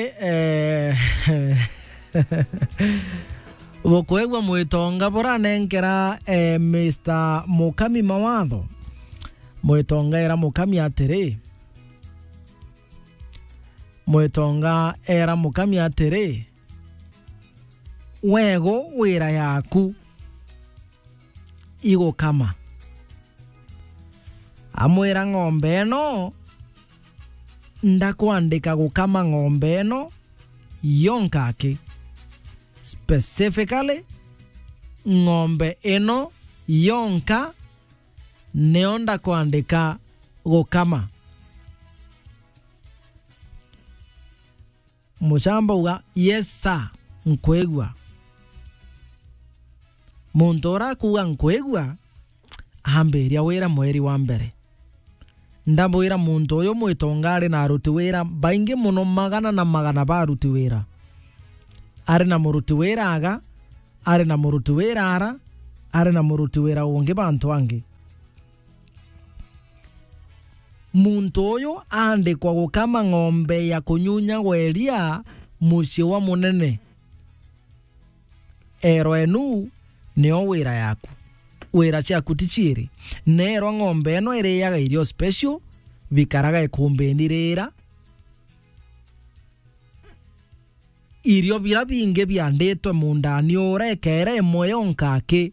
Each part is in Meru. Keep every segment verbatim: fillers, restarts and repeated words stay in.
Eh, bukwigua mwitonga buranenkera, eh, Mister Mukami mawatho. Mwitonga era Mukami atiri, mwitonga era Mukami atiri, "Wego wira yaku igukama." Amwira, "Ng'ombe ino ndakwandika gukama ng'ombe ino yonka aki. Specifically, ng'ombe ino yonka nio ndakwandika gukama." Muchamba uga, "Yes sir, nkwigua." Muntu ura akuuga, "Nkwigua," ambiria wira mweri wa mbere. Ndabwira, muntu uyu mwitonga ari na aruti wira baingi mono, magana na magana ba aruti wira. Ari na muruti wira aga, ari na muruti wira ara, ari na muruti wira ungi bantu angi. Muntu uyu aandikwa gukama ng'ombe ya kunyunyagwa iria mucii wa munene. Erwa, "Inu nio wira yaku. Wira ciaku ti ciiri." Neerwa, "Ng'ombe ino iriaga irio special, bikaraga ikumbini rira. Irio biria bingi bianditwe mundani uria, ikeera imwe yonka aki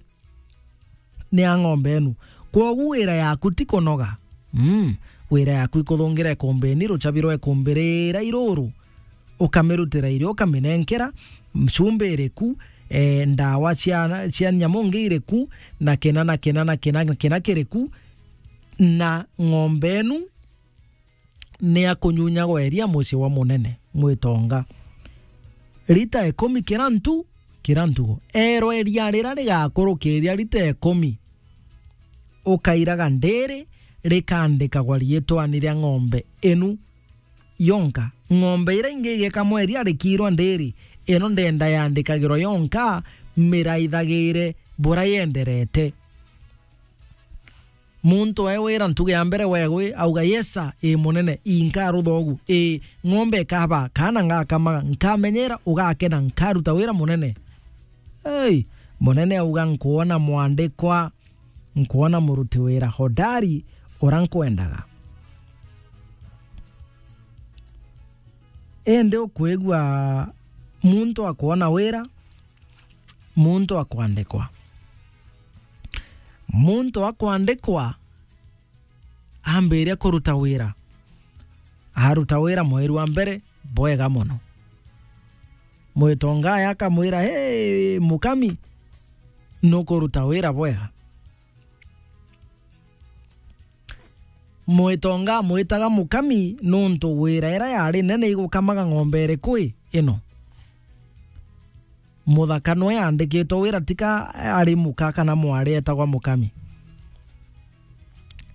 ni ya ng'ombe inu. Kwogu wira yaku ti kunoga. Mm, wira yaku ikuthungira ikumbini, ruchabi rwa ikumbi riria iruru, ukamirutira irio, ukaminenkera, chumbi iriku, eh, ndawa cia, cia nyamu ngi iriku, na kina, na kina, na kina, na kina kiriku, na ng'ombe inu ni ya kunyunyagwa iria mucii wa munene mwitonga. Rita ikumi kira ntu, kira ntugo. Erwa iria riria rigakurukiria rita ikumi, ukairaga ndiri, rikandikagwa riitwani ria ng'ombe inu yonka. Ng'ombe iria ingi igekamwa iria rikirwa ndiri, ino ndenda yandikagirwa yonka, miraithagire bura yenderete. Muntu aewira ntuge ya mbere, "Wegwi?" Auga, "Yes sir, ii munene, ii nkarutha ugu, ii ng'ombe ikaba, kana ngakamaga, nkamenyera, ugakena, nkaruta wira munene." Ei, munene auga, "Nkwona mwandikwa, nkwona muruti wira hodari, ura nkwendaga." Indi ukwigua muntu akwona wira, muntu akwandikwa. Muntu akwandikwa ambiria kuruta wira. Aruta wira mweri wa mbere bwega mono. Mwitonga akamwira, "Hey, Mukami, nukuruta wira bwega." Mwitonga amwitaga Mukami nuntu wira iria yari nene igukamaga ng'ombe iriku ino. Muthaka nwe yandikitwe wira, tika ari muka kana mwari etagwa Mukami.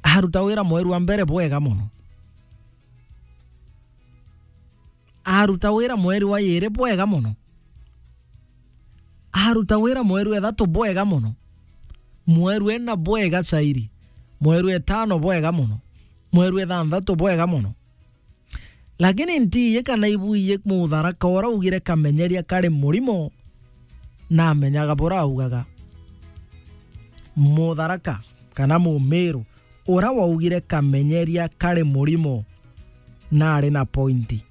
Aruta wira mweri wa mbere bwega mono. Aruta wira mweri wa iiri bwega mono. Aruta wira mweri wa ithatu bwega mono. Mweri wa ina bwega zaidi. Mweri wa itano bwega mono. Mweri wa ithanthatu bwega mono. Lakini ntiiji kana ibuiji Mutharaka ura augire kamenyeria kari murimo, namenyaga bura augaga. Mutharaka kana Mumiru ura waugire kamenyeria kari murimo, nari na pointi.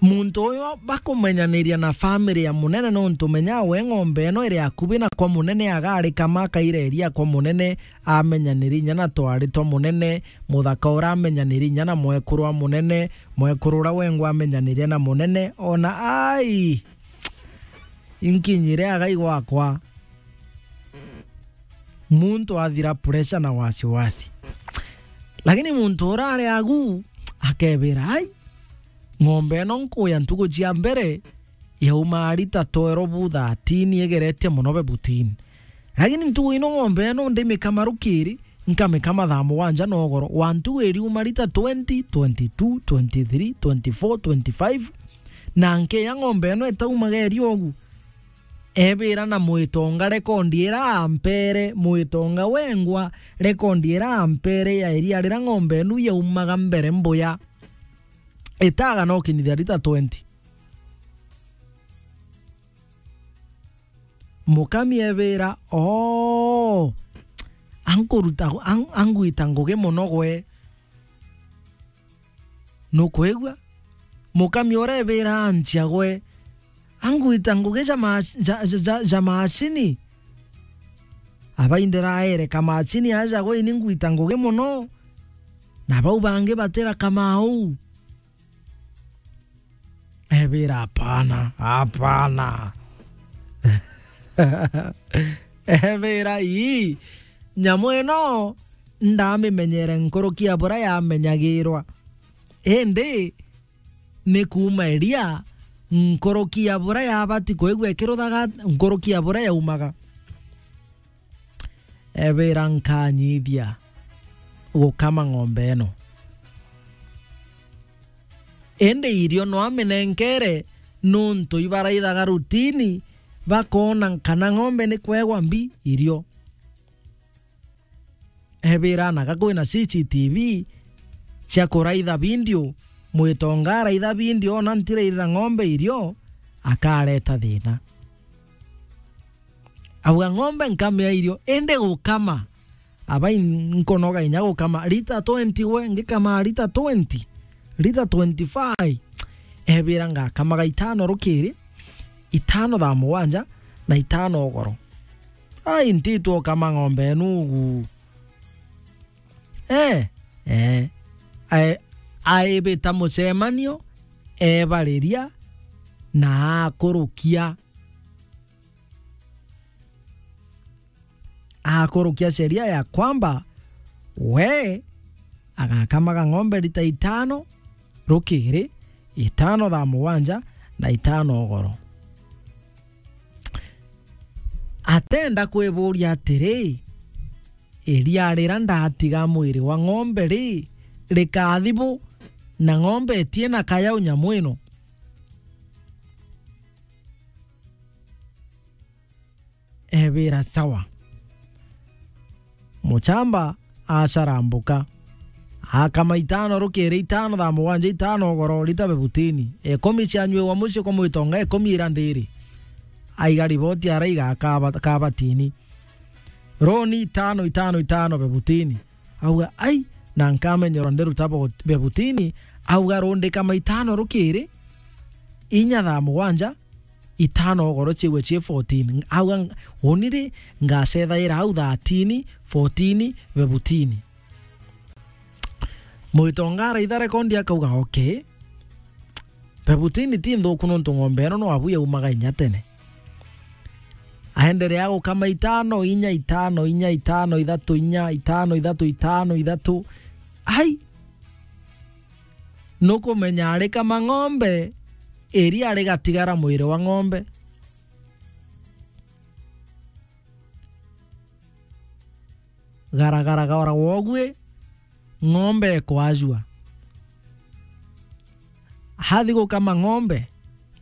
Muntu uyu bakumenyaniria na family ya munene, nontu menya we ng'ombe ino iri akubi na kwa munene, agarikama akaira iria kwa munene, amenyaniri inya na twari twa munene, muthaka ura amenyaniri inya na mwekuru wa munene, mwekuru ura wengwa amenyaniria na munene, ona ai, inkinyire agai gwakwa. Muntu athira pressure na wasiwasi. Lakini muntu ura ari agu akebira, "Ai, ng'ombe ino nkuya ntugu cia mbere yauma rita twelve, thirteen, igeretie mono bebutini. Lakini ntugu ino ng'ombe ino ndimikama rukiri, nkamikama thaa mugwanja nogoro, wa ntugu iriuma rita twenty, twenty-two, twenty-three, twenty-four, twenty-five, na nkeya ng'ombe ino itaumaga iria ugu." Ebira na mwitonga rekondi ira ampere, mwitonga wengwa, rekondi ira ampere ya iria rira ng'ombe inu yaumaga mbere mbuya. Itaga no kinyithia lita twenty. Mukami ebira, "Oo, ankuruta, an-, angwita ngugi mono gwe." Nukwigua? Mukami uria ebira anchia gwe, "Angwita ngugi ja ma-, ja, ja, ja, ja macini." Abaindira aere, "Kamacini aja gwe, ini ngwita ngugi mono, na bau bangi batira kamau." Ebira, "Hapana, hapana." Ebira, "Ii, nyamu ino ndamimenyere nkuruki ya buria yamenyagirwa. Indi ni kuuma iria nkuruki ya buria yabati kwigua ikiruthaga, nkuruki ya buria yaumaga." Ebira, "Nkanyithia gukama ng'ombe ino. Indi irio no aminenkere, nuntu ibaraithaga rutini, bakoona kana ng'ombe ni kwegwa mbi irio." Ebira, "Naga kwina C C T V cia kuraitha video, mwitonga araitha video, ona ntirairira ng'ombe irio, akareta thina." Auga, "Ng'ombe nkamea irio, indi gukama, abai nkonoga inya gukama lita twenty gwe, ngikama lita twenty, lita twenty-five." Ebira, "Ngakamaga itano rukiri, itano thaa mugwanja, na itano ugoro." Ai, ntitwa ukama ng'ombe enu ugu. Eh, eh. Ae-, aibita mucemanio, ebariria, na akurukia. Akurukia sheria ya kwamba we agakamaga ng'ombe lita itano rukiri, itano thaa mugwanja na itano ugoro. Atenda kwiburia atiri, iria rira ndatiga mwiri wa ng'ombe ri, rikathi bu, na ng'ombe itina kayau nyamu ino? Ebira, "Sawa." Muchamba acarambuka. Akama itano rukiri, itano thaa mugwanja, itano ugoro, lita bebutini. Ikumi cianyuiwa mucii kwa mwitonga, ikumi ira ndiri. Aiga riboti araiga kaba-, kabatini. Roni itano, itano, itano bebutini. Auga, "Ai, na nkamenyerwa ndiruta bo-, bebutini." Auga, "Rundika maitano rukiri, inya thaa mugwanja, itano ugoro ciwe cie fourteen." Auga, "Uni ri, ngacethaira au thirteen, fourteen, bebutini." Mwitonga araitha rekondi akauga, "Okay. Bebutini ti nthuku nontu ng'ombe ino no abu yaumaga inya tene." Aenderea gukama itano, inya, itano, inya, itano, ithatu, inya, itano, ithatu, itano, ithatu. Ai! Nukumenya arikama ng'ombe, iria rigatigara mwiri wa ng'ombe. Garagara gora wogwi, ng'ombe ikwajua. Athi gukama ng'ombe,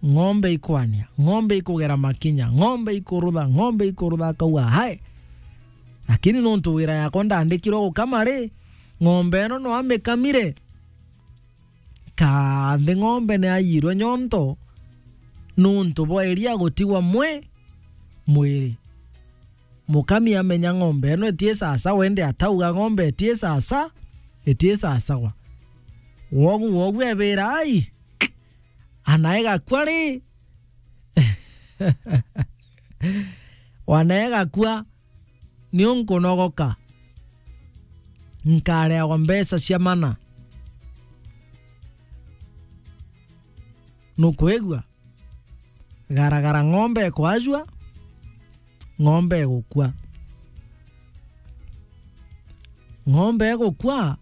ng'ombe ikwania, ng'ombe ikugera makinya, ng'ombe ikurutha, ng'ombe ikurutha, akauga, "Hai! Lakini nontu wira yakwa ndandikirwe gukama ri, ng'ombe ino no amikamire." Kathi ng'ombe ni ayirwe nyonto nuntu bwa iria gutigwa mwe mwiri. Mukami amenya ng'ombe ino itie sasa, wende atauga ng'ombe itie sasa, itie sasagwa. Wogu, wogu ebira, "Ai! Anaega kwa ri?" Wanaega kwa, ni unkunogoka. Nkareagwa mbeca cia mana. Nukwigua? Garagara ng'ombe ikwajua, ng'ombe igukua. Ng'ombe igukua,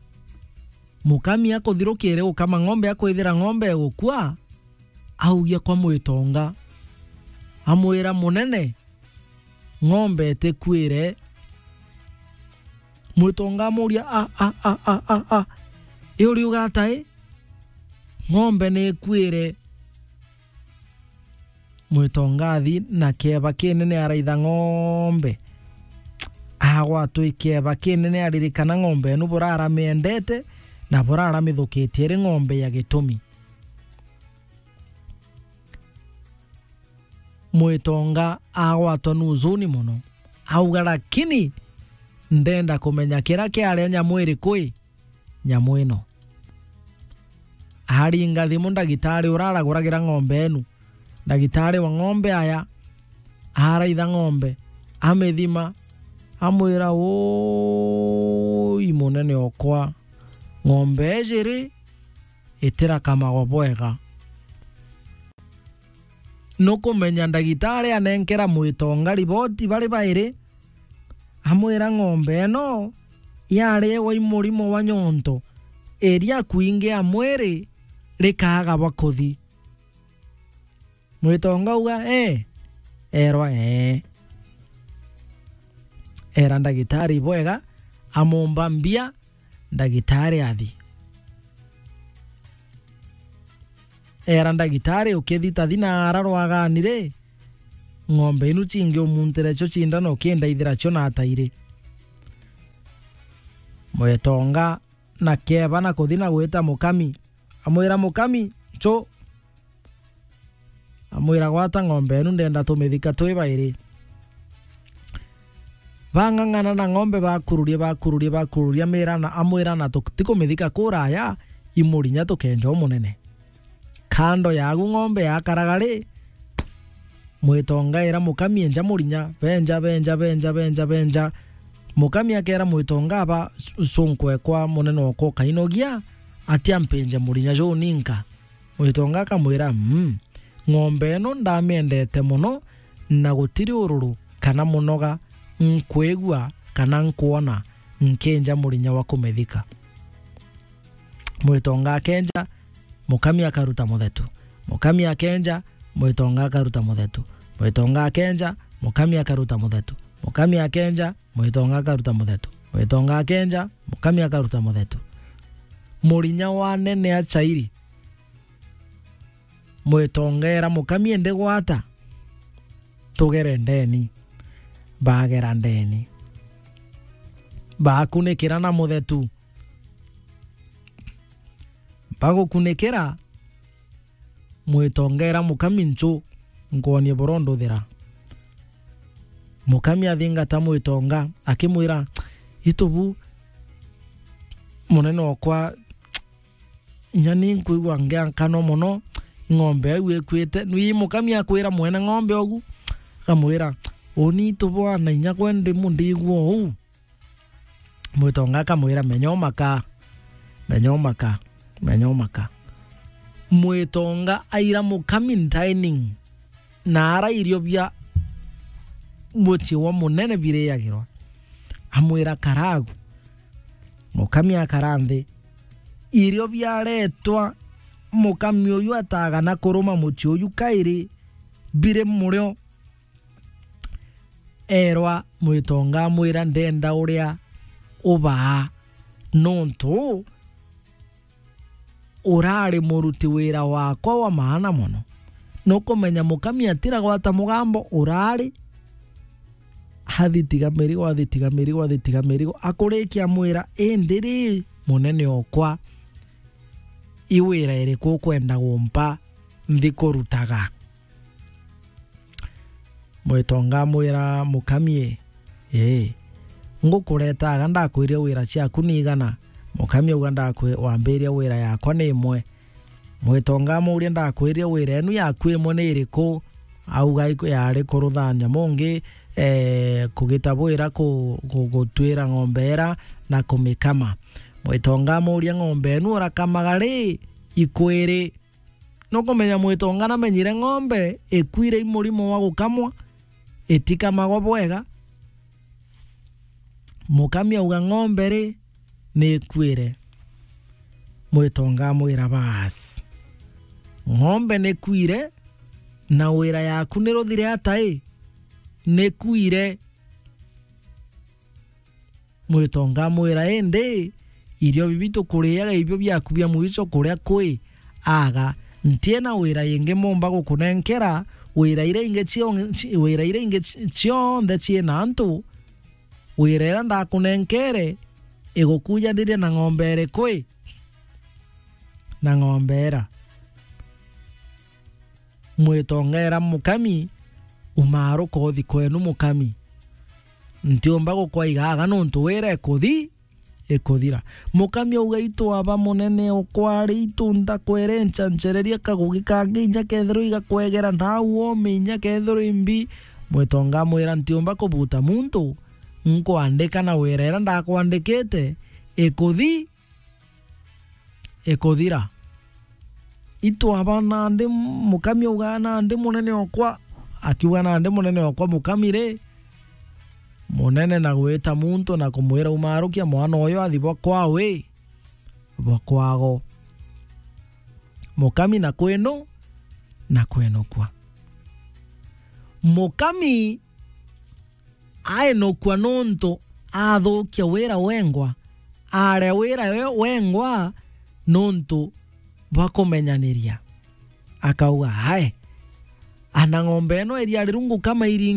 mukami akuthirukire gukama ng'ombe, akwithira ng'ombe igukua, augia kwa mwitonga, amwira, "Munene, ng'ombe itikuire." Mwitonga amuria, "A, a, a, a, a, a, i uriuga ata i? Ng'ombe ni ikuire." Mwitonga athi na kieba kinene araitha ng'ombe. Agwatwa i kieba kinene aririkana ng'ombe enu burara miendete na burara mithukitie iri ng'ombe ya gitumi. Mwitonga agwatwa ni uzuni mono. Auga, "Lakini ndenda kumenya kira kiaria nyamu iriku i nyamu ino." Aringa thimu ndagitari uria araguragira ng'ombe enu. Ndagitari wa ng'ombe aya araitha ng'ombe, amithima, amwira, "Ui munene okwa, ng'ombe iji ri, itirakamagwa bwega." Nukumenya ndagitari anenkera Mwitonga riboti bari bairi, amwira, "Ng'ombe ino yarewa i murimo wa nyonto, iria kwingi a mwiri rikaaga bwa kuthi." Mwitonga auga, "Ee." Erwa, "Ee." Era ndagitari bwega, amumba mbia, ndagitari athi. Era ndagitari, "Ukithita thina ara rwagani ri, ng'ombe inu cingi umuntire cio cindana ukindaithira cio na atairi." Mwitonga na kieba na kuthi na gwita mukami. Amwira, "Mukami, ncu." Amwira, "Gwata ng'ombe enu, ndenda tumithika twi bairi." Bang'ang'ana na ng'ombe, bakururia, bakururia, bakururia, mira na, amwira, "Na tutikumithika kuraya, i murinya tukenja umunene." Kando yagu ng'ombe yakaraga ri, Mwitonga era mukami, "Enja murinya." Benja, benja, benja, benja, benja. Mukami akera Mwitonga, "Aba su-, sunku ekwa munene okwa ukainogia, atia mpinje murinya juu ninka?" Mwitonga akamwira, "Mm, ng'ombe ino ndamiendete mono, na gutiri ururu kana munoga nkwigua kana nkwona nkinja murinya wa kumithika." Mwitonga akenja, mukami akaruta muthetu. Mukami akenja, Mwitonga akaruta muthetu. Mwitonga akenja, mukami akaruta muthetu. Mukami akenja, Mwitonga akaruta muthetu. Mwitonga akenja, mukami akaruta muthetu. Murinya wa nene achairi. Mwitonga era mukami, "Indi gwata, tugere ndeni." Bagera ndeni. Bakunikira na muthetu. Bagukunikira, Mwitonga era mukami, "Ncu, nkwonie buru nduthira." Mukami athingata Mwitonga, akimwira, "Itubu, munene okwa, inya ni nkwigua ngiakanwa mono, ng'ombe au ikwite." Nui mukami akwira mwene ng'ombe ogu, akamwira, "Uni itubu ana inya gwe ndimu ndigua uu." Mwitonga akamwira, "Menya umaka, menya umaka, menya umaka." Mwitonga aira mukami dining, na ara irio bia mucii wa munene biriagirwa. Amwira, "Karagu." Mukami akara nthi. Irio biaretwa, mukami uyu atagana kuruma mucii uyu kairi biri murio. Erwa Mwitonga amwira, "Ndenda uria ubaa, nontu urari muruti wira wakwa wa maana mono." Nukumenya mukami atiragwata mugambo, urari athitiga mirigo, athitiga mirigo, athitiga mirigo. Akurikia amwira, "Indi ri, munene okwa, i wira iriku ukwenda gumpa nthi kurutaga?" Mwitonga amwira mukami, "Ii, ngukuretaga ndakwiria wira ciaku ni igana?" Mukami auga, "Ndakwi-, wambiria wira yakwa ni imwe." Mwitonga amuuria, "Ndakwiria wira enu yaku imwe ni iriku?" Auga, "Iku-, yari kurutha nyamu ngi, ee, kugita bwira ku-, ku-, gutwira ng'ombe ira na kumikama." Mwitonga amuuria, "Ng'ombe enu urakamaga ri ikwiri?" Nukumenya Mwitonga namenyire ng'ombe ikwire i murimo wa gukamwa, itikamagwa bwega. Mukami auga, "Ng'ombe ri, ni ikwire." Mwitonga amwira, "Baas, ng'ombe ni kwire, na wira yaku ni ruthire ata i? Ni kwire." Mwitonga amwira, "Indi irio bibi tukuriaga ibio biaku bia mwicho kuria kwi? Aga, ntiena wira ingi mumba gukunenkera, wira iria ingi cio-, ci-, wira iria ingi ci-, cionthe ciina antu, wira iria ndakunenkere igukujanirie na ng'ombe iriku i? Na ng'ombe ira." Mwitonga era mukami, Umaruka uthi kwenu, mukami. Ntiumba gukwaiga aga nontu wira ikuthi-, ikuthira. Mukami auga, "Itwaba munene okwa ari itu ndakwere ncancereria kagugi kangi inya kethirwa igakwegera nau ome inya kethirwa imbi." Mwitonga amwira, "Ntiumba kubuta muntu, nkwandika na wira ira ndakwandikite ikuthi-, ikuthira." Itwaba nandi, mukami auga, "Nandi munene okwa," akiuga, "Nandi munene okwa mukami ri, munene na gwita muntu na kumwira, 'Umarukia mwana uyu athi bwa kwawe, bwa kwago.'" Mukami na kwinu, na kwinukwa. Mukami ainukua nontu athukia wira wengwa, aria wira we-, wengwa nontu bwa kumenyaniria. Akauga, "Ae, ana ng'ombe ino iria rirungu kama iringi